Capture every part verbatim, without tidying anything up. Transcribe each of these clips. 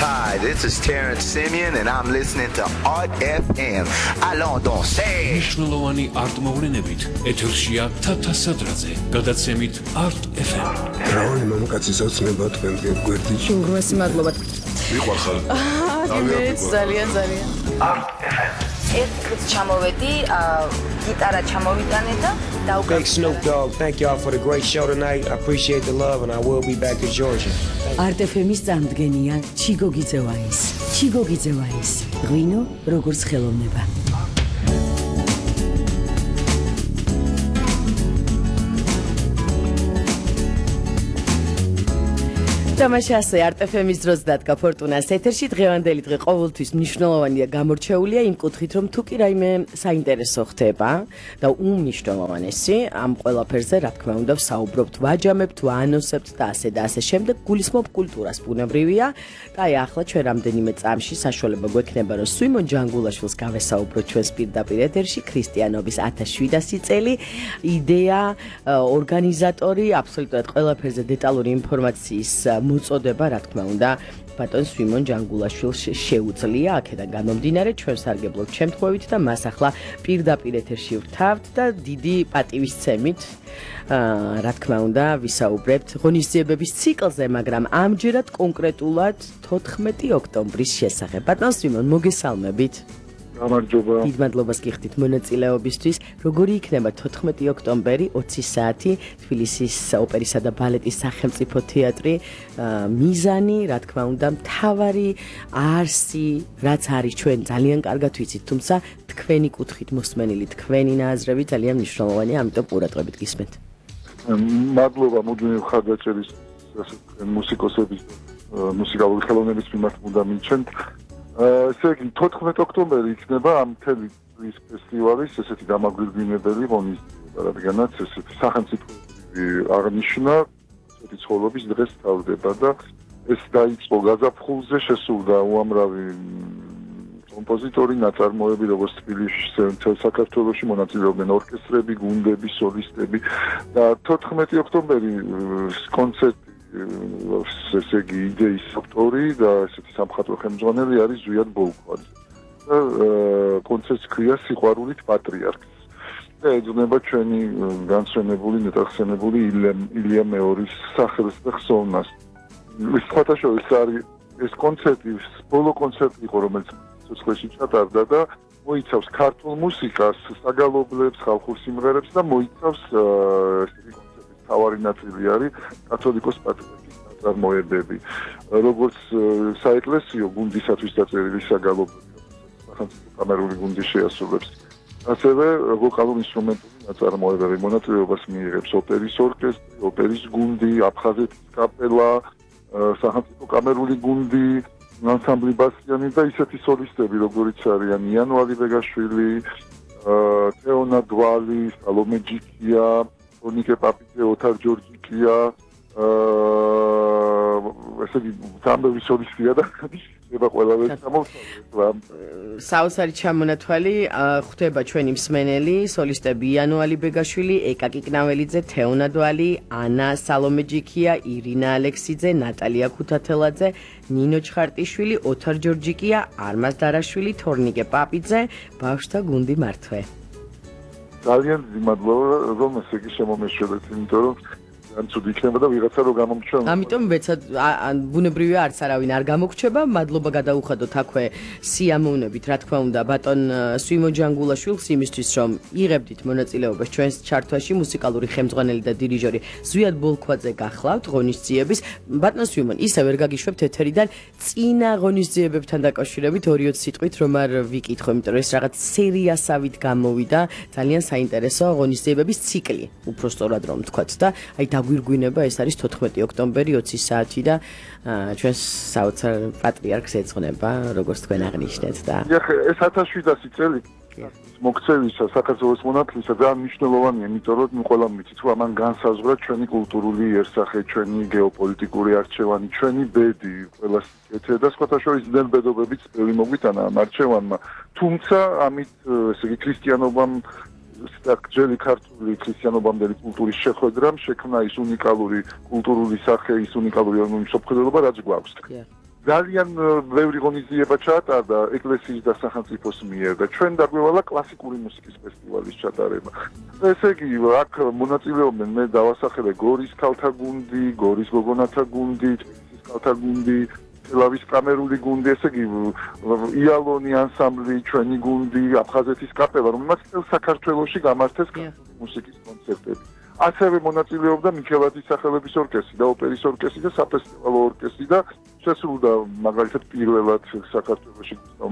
Hi, this is Terrence Simeon and I'm listening to Art F M. Allons danser. მნიშვნელოვანი არტ მოვლენებით ეთერშია თათა სადრაძე, გადაცემით Art F M. რავი მამაკაცის ოცნება თქვენგან გვერდით. უგრესი მადლობა. მიყვარხარ. აა, ძალიან ძალიან. Art F M. ერთ წუთს ჩამოვედი, გიტარა ჩამოვიტანე და დავუკრავე. Big Snoop Dogg, thank y'all for the great show tonight. I appreciate the love and I will be back to Georgia. Art F M-ის წამდგენია ჩიგო გიძევაის. ჩიგო გიძევაის. ღვინო როგორც ხელოვნება. თამაშასე Art F M-ის დროს დადგა ფორტუნას ეთერში დღევანდელი დღე ყოველთვის მნიშვნელოვანია გამორჩეულია იმ კუთხით რომ თუ კი რაიმე საინტერესო ხდება და უმნიშვნელოვანესი ამ ყველაფერზე რა თქმა უნდა ვსაუბრობთ ვაჯამებთ ვაანონსებთ და ასე და ასე შემდეგ გულისხმობ კულტურას ბუნებრივია და აი ახლა ჩვენ რამდენიმე წამში საშუალება გვექნება რომ სვიმონ ჯანგულაშვილს გავესაუბროთ ჩვენს პირდაპირ ეთერში ქრისტიანობის ათას შვიდასი წელი იდეა ორგანიზატორი აბსოლუტურად ყველაფერზე დეტალური ინფორმაციის მოწოდება რა თქმა უნდა ბატონ სვიმონ ჯანგულაშვილს შეუძლია აქედან გამომდინარე ჩვენ სარგებლობთ შემთხვევით და მას ახლა პირდაპირ ეთერში ვთავთ და დიდი პატივისცემით რა თქმა უნდა ვისაუბრებთ ღონისძიებების ციკლზე მაგრამ ამჯერად კონკრეტულად თოთხმეტი ოქტომბრის შესახებ ბატონ სვიმონ მოგესალმებით გამარჯობა. დიდ მადლობას გიხდით მონაწილეობისთვის. როგორი იქნება თოთხმეტი ოქტომბერი ოცი საათი თბილისის ოპერისა და ბალეტის სახელმწიფო თეატრი მიზანი, რა თქმა უნდა, მთავარი არსი, რაც არის ჩვენ ძალიან კარგად ვიცით, თუმცა თქვენი კუთხით მოსმენილი თქვენი ნაზრები ძალიან მნიშვნელოვანია, ამიტომ ყურადღებით გისმენთ. მადლობა მუდმივი მხარდაჭერის მუსიკოსების მუსიკალური ხელოვნების მიმართ უნდა მიჩნდეთ. ესე იგი თოთხმეტი ოქტომბერი იქნება ამ მთელი წლის ფესტივალის ესეთი დამაგვირგვინებელი ღონისძიება, რადგანაც ესეთი სახელმწიფოებრივი აღნიშვნა ესეთი ცხოვრების დღეს თავდება და ეს დაიწყო გაზაფხულზე შესულდა უამრავი კომპოზიტორი, ნაწარმოები, როგორც თბილისში, მთელ საქართველოში მონაწილეობდნენ ორკესტრები, გუნდები, სოლისტები და თოთხმეტი ოქტომბერი კონცერტი ესე იგი იდეის ავტორი და ესეთი სამხატვრო ხელმძღვანელი არის ზვიად ბოლქვაძე. და კონცერტს ქვია სიყვარულით პატრიარქს. და ეძღვნება ჩვენი განსვენებული, ნეტახსენებული ილია მეორის სახელს და ხსოვნას. ეს ფოტოშოვის არის ეს კონცერტი, ბოლო კონცერტი იყო, რომელიც სიცოცხლეში ჩატარდა და მოიცავს ქართულ მუსიკას, საგალობლებს, ხალხურ სიმღერებს და მოიცავს ესეთი თავარი ნაწილი არის კათოლიკოს პატრიარქის ნაწარმოებები. როგორც საეკლესიო გუნდისათვის დაწერილი საგალობლები, სახელმწიფო კამერული გუნდი შეასრულებს. ასევე ვოკალურ ინსტრუმენტული ნაწარმოებები მონაწილეობას მიიღებს ოპერის ორკესტრი, ოპერის გუნდი, აფხაზეთის კაპელა, სახელმწიფო კამერული გუნდი, ანსამბლი ბასიანი და ისეთი სოლისტები, როგორიც არიან იანვალი ვეგაშვილი, თეონა დვალი, სალომე ჯიქია, ნიკე პაპიძე, ოთარ ჯორჯიკია, ესე იგი თამბები სოლისტია და ება ყველაფერი გამოვსწორდა. საოცარი ჩამონათვალი ხვდება ჩვენი მსმენელი, სოლისტები იანვალი ბეგაშვილი, ეკა კიკნაველიძე, თეონა დვალი, ანა სალომე ჯიქია, ირინა ალექსიძე, ნატალია ქუთათელაძე, ნინო ჩხარტიშვილი, ოთარ ჯორჯიკია, არმაზ დარაშვილი, თორნიკე პაპიძე, ბავშვთა გუნდი მართვე. ძალიან მადლობა რომ ესე იგი შემომეშველეთ, იმიტომ რომ ან ცუდი იქნება და ვიღაცა რო გამომჩვენა. ამიტომ მეცად ბუნებრივია არც არავინ არ გამოგჩება. მადლობა გადაუხადოთ აქვე სიამოვნებით, რა თქმა უნდა, ბატონ სვიმონ ჯანგულაშვილს იმისთვის, რომ იღებდით მონაწილეობას ჩვენს ჩართვაში, მუსიკალური ხელმძღვანელი და დირიჟორი ზვიად ბოლქვაძე გახლავთ ღონისძიების. ბატონ სვიმონ, ისე ვერ გაგიშვებთ ეთერიდან წინა ღონისძიებებთან დაკავშირებით ორი-ოც სიტყვით, რომ არ ვიკითხო, იმიტომ რომ ეს რაღაც სერიასავით გამოვიდა, ძალიან საინტერესო ღონისძიებების ციკლი, უფრო სწორად რომ ვთქვათ და აი გვირგვინება ეს არის თოთხმეტი ოქტომბერი ოცი საათი და ჩვენს საოცარ პატრიარქს ეძღვნება როგორც თქვენ აღნიშნეთ და ეს ათას შვიდასი წელი მოქცევისა საქართველოს მონათლისა ძალიან მნიშვნელოვანია, იმიტომ რომ ნუ ყველამ ვიცით რომ ამან განსაზღვრა ჩვენი კულტურული იერსახე, ჩვენი გეოპოლიტიკური არჩევანი, ჩვენი ბედი, ყველა სიკეთე და სხვათა შორის ძნელბედობებიც ბევრი მოგვიტანა ამ არჩევანმა. თუმცა ამით ესე იგი ქრისტიანობამ ძველი ქართული ქრისტიანობამდელი კულტურის შეხვედრამ შექმნა ის უნიკალური კულტურული სახე, ის უნიკალური მსოფლმხედველობა, რაც გვაქვს. ძალიან ბევრი ღონისძიება ჩაატარდა ეკლესიის და სახელმწიფოს მიერ და ჩვენ დაგვევალა კლასიკური მუსიკის ფესტივალის ჩატარება. ესე იგი, აქ მონაწილეობდნენ მე დავასახელე გორის ქალთა გუნდი, გორის გოგონათა გუნდი, თბილისის ქალთა გუნდი, ლავის კამერული გუნდი, ესე იგი იალონი ანსამბლი, ჩვენი გუნდი, აფხაზეთის კაპელა, რომელმაც წელს საქართველოში გამართეს კლასიკური მუსიკის კონცერტები. ასევე მონაწილეობდა მიქელაძის სახელობის ორკესტრი და ოპერის ორკესტრი და საფესტივალო ორკესტრი და შესრულდა მაგალითად პირველად საქართველოში გუსტავ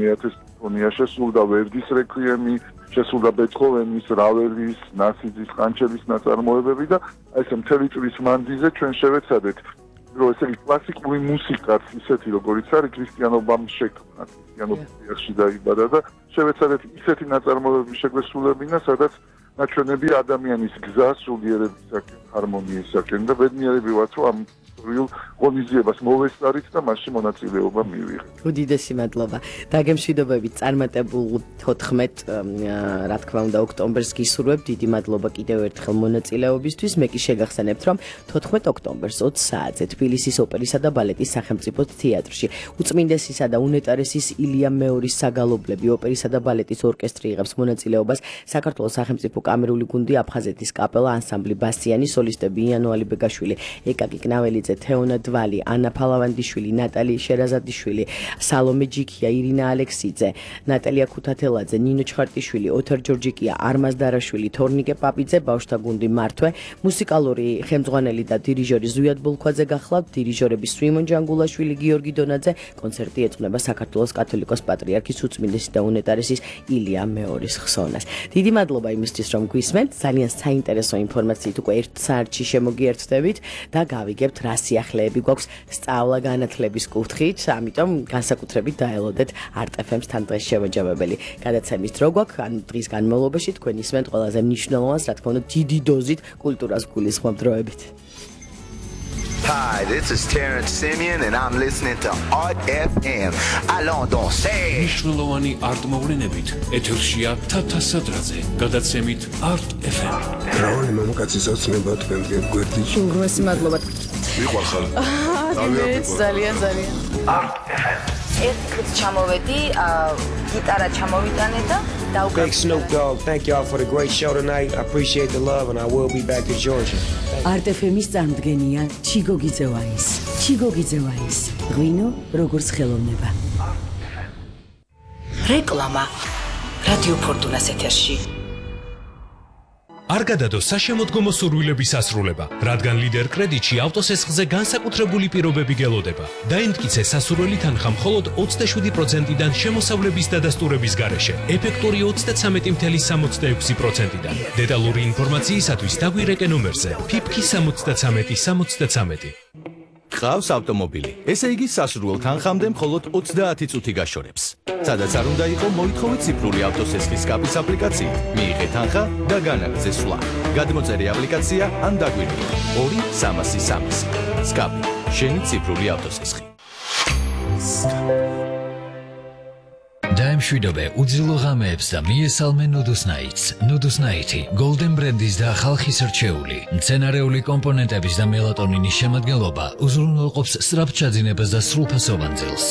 მეათე სიმფონია, შესრულდა ვერდის რეკვიემი, შესრულდა ბეთჰოვენის, რაველის, ნასიძის, ყანჩელის ნაწარმოებები და ესე მთელი წლის მანძილზე ჩვენ შევეცადეთ რომ ესე იგი კლასიკური მუსიკაც ისეთი როგორიც არის ქრისტიანობამ შექმნა, ქრისტიანობაში დაიბადა და შევეცადეთ ისეთი ნაწარმოებები შეგვესრულებინა, სადაც ნაჩვენები ადამიანის გზა სულიერებისაკენ, ჰარმონიისაკენ და ბედნიერები ვართ, რომ ამ ისტორიულ ღონისძიებას მოვესწარით და მასში მონაწილეობა მივიღეთ. უდიდესი მადლობა. დაგემშვიდობებით წარმატებულ თოთხმეტ რა თქმა უნდა ოქტომბერს გისურვებთ. დიდი მადლობა კიდევ ერთხელ მონაწილეობისთვის. მე კი შეგახსენებთ, რომ თოთხმეტ ოქტომბერს ოცი საათზე თბილისის ოპერისა და ბალეტის სახელმწიფო თეატრში უწმინდესისა და უნეტარესის ილია მეორის საგალობლები ოპერისა და ბალეტის ორკესტრი იღებს მონაწილეობას საქართველოს სახელმწიფო კამერული გუნდი, აფხაზეთის კაპელა, ანსამბლი ბასიანი, სოლისტები იანო ალიბეგაშვილი, ეკაკი კნაველიძე, თეონა დვალი, ანა ფალავანდიშვილი, ნატალი შერაზადიშვილი, სალომე ჯიქია, ირინა ალექსიძე, ნატალია ქუთათელაძე, ნინო ჩხარტიშვილი, ოთარ ჯორჯიკია, არმაზ დარაშვილი, თორნიკე პაპიძე, ბავშვთა გუნდი მართვე, მუსიკალური ხელმძღვანელი და დირიჟორი ზვიად ბოლქვაძე გახლავთ, დირიჟორები სვიმონ ჯანგულაშვილი, გიორგი დონაძე, კონცერტი ეძღვნება საქართველოს კათოლიკოს პატრიარქის უწმინდესი და უნეტარესის ილია მეორის ხსოვნას. დიდი მადლობა იმისთვის, რომ გვისმენთ, ძალიან საინტერესო ინფორმაციით უკვე ერთ საათში შემოგიერთდებით და გავიგებთ რა სიახლეები გვაქვს სწავლა განათლების კუთხით, ამიტომ განსაკუთრებით დაელოდეთ არტ ეფ ემს თან დღეს შემაჯამებელი გადაცემის დრო გვაქვს, ან დღის განმავლობაში თქვენ ისმენთ ყველაზე მნიშვნელოვანს, რა თქმა უნდა, დიდი დოზით კულტურას გულისხმობ დროებით. Hi, this is Terrence Simeon and I'm listening to Art ეფ ემ. Allons danser. მნიშვნელოვანი არტ-მოვლენებით ეთერშია თათა სადრაძე, გადაცემით არტ ეფ ემ. მრავალი მამაკაცის ოცნება თქვენგან გვერდიში. უღრესი მადლობა. მიყვარხარ. ამეთ ძალიან ძალიან. არტ ეფ ემ. ეს დღეს ჩამოვედი, გიტარა ჩამოვიტანე და Big Snoop Dogg, thank y'all for the great show tonight. I appreciate the love and I will be back to Georgia. არტ ეფ ემის წარმოდგენია ჩიგო გიძევაის. ჩიგო გიძევაის. ღვინო როგორც ხელოვნება. რეკლამა. რადიო ფორტუნას ეთერში. არ გადადო საშემოდგომო სურვილების ასრულება, რადგან ლიდერ კრედიტში ავტოსესხზე განსაკუთრებული პირობები გელოდება. დაიმტკიცე სასურველი თანხა მხოლოდ ოცდაშვიდი პროცენტიდან შემოსავლების დადასტურების გარეშე, ეფექტური ოცდაცამეტი წუთი სამოცდაექვსი პროცენტიდან. დეტალური ინფორმაციისათვის დაგვირეკე ნომერზე ფიფქი სამოცდაცამეტი სამოცდაცამეტი. გყავს ავტომობილი. ესე იგი სასურველ თანხამდე მხოლოდ ოცდაათი წუთი გაშორებს. სადაც არ უნდა იყო მოითხოვე ციფრული ავტოსესხის სკაპის აპლიკაციით. მიიღე თანხა და განაგრძე სვლა. გადმოწერე აპლიკაცია ან დაგვირეკე ორი სამასი სამასი. სკაპი, შენი ციფრული ავტოსესხი. დაემშვიდობე უძილო ღამეებს და მიესალმე ნუდუსნაიტს. ნუდუსნაიტი გოლდენ ბრენდის და ხალხის რჩეული მცენარეული კომპონენტების და მელატონინის შემადგენლობა უზრუნველყოფს სწრაფჩაძინებას და სრულფასოვან ძილს.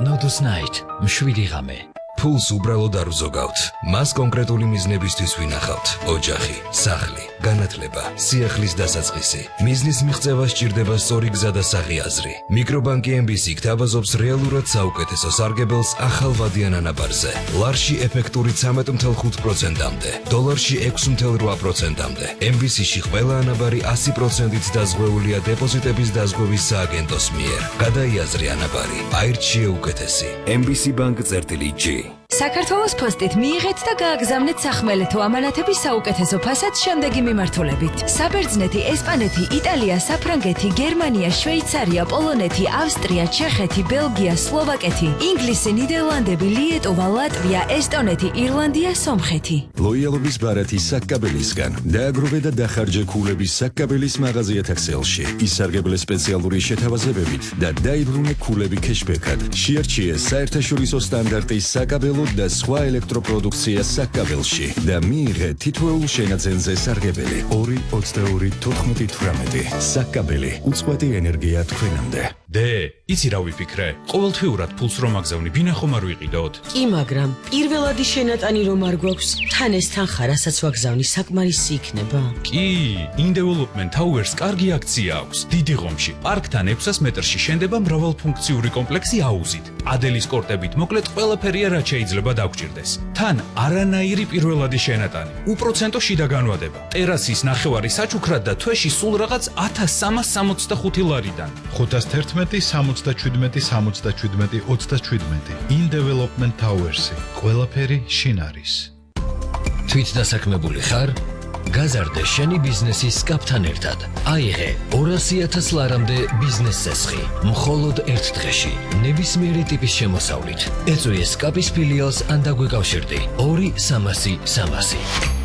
ნუდუსნაიტ მშვიდი ღამე. ფულს უბრალოდ არ ვზოგავთ. მას კონკრეტული მიზნებისთვის ვინახავთ. ოჯახი, სახლი, განათლება, სიახლის დასაწყისი. მიზნის მიღწევა სჭირდება სწორი გზა და საღიაზრი. მიკრობანკი ემ ბი სი გთავაზობს რეალურად საუკეთესო სარგებელს ახალ ვადიან ანაბარზე. ლარში ეფექტური ცამეტ წუთი ხუთ პროცენტამდე, დოლარში ექვსი წუთი რვა პროცენტამდე. ემ ბი სი-ში ყველა ანაბარი ასი პროცენტით დაზღვეულია დეპოზიტების დაზღვევის სააგენტოს მიერ. გადაიაზრე ანაბარი, აირჩიე უკეთესი. ემ ბი სი ბანკ წერტილი ჯი. საქართველოს პოსტით მიიღეთ და გააგზავნეთ სახმელეთო ამანათების საუკეთესო ფასად შემდეგი მიმართულებით. საბერძნეთი, ესპანეთი, იტალია, საფრანგეთი, გერმანია, შვეიცარია, პოლონეთი, ავსტრია, ჩეხეთი, ბელგია, სლოვაკეთი, ინგლისი, ნიდერლანდები, lietova, ლატვია, ესტონეთი, ირლანდია, სომხეთი. ლოიალობის ბარათი საკკაბელისგან. დააგროვე და დახარჯე ქულების საკკაბელის მაღაზიათა ქსელში. ისარგებლე სპეციალური შეთავაზებებით და დაიბრუნე ქულები ქეშბექად. შეარჩიე საერთაშორისო სტანდარტის საკაბელო და სხვა ელექტროპროდუქცია საკაბელში და მიიღე თითოეულ შენაძენზე სარგებელი ორი ოცდაორი თოთხმეტი თვრამეტი. საკაბელი უწყვეტი ენერგია თქვენამდე. დე, იცი რა ვიფიქრე? ყოველთვიურად ფულს რომ აგზავნი, ბინა ხომ არ ვიყიდოთ? კი, მაგრამ პირველადი შენატანი რომ არ გვაქვს, თან ეს თანხა, რასაც ვაგზავნი, საკმარისი იქნება. კი, In-Development Towers კარგი აქცია აქვს. დიდი ღომში, პარკთან ექვსას მეტრში შენდება მრავალფუნქციური კომპლექსი აუზით. ადელის კორტებით მოკლედ ყველაფერია, რაც შეიძლება დაგჭირდეს. თან არანაირი პირველადი შენატანი, უპროცენტო შიდა განვადება, ტერასის ნახევარი საჩუქრად და თვეში სულ რაღაც ათას სამას სამოცდახუთი ლარიდან. ხუთას თერთმეტი სამოცდაჩვიდმეტი სამოცდაჩვიდმეტი ოცდაჩვიდმეტი In-Development Towers-ი. ყველაფერი შინ არის. თვით დასაქმებული ხარ? გაზარდე შენი ბიზნესის სკაპთან ერთად. აიღე ორასი ათას ლარამდე ბიზნეს წესხი. მხოლოდ ერთ დღეში, ნებისმიერი ტიპის შემოსავლით. ეწვიე სკაპის ფილიალს ან დაგვეკავშირდი. ორი სამასი სამასი.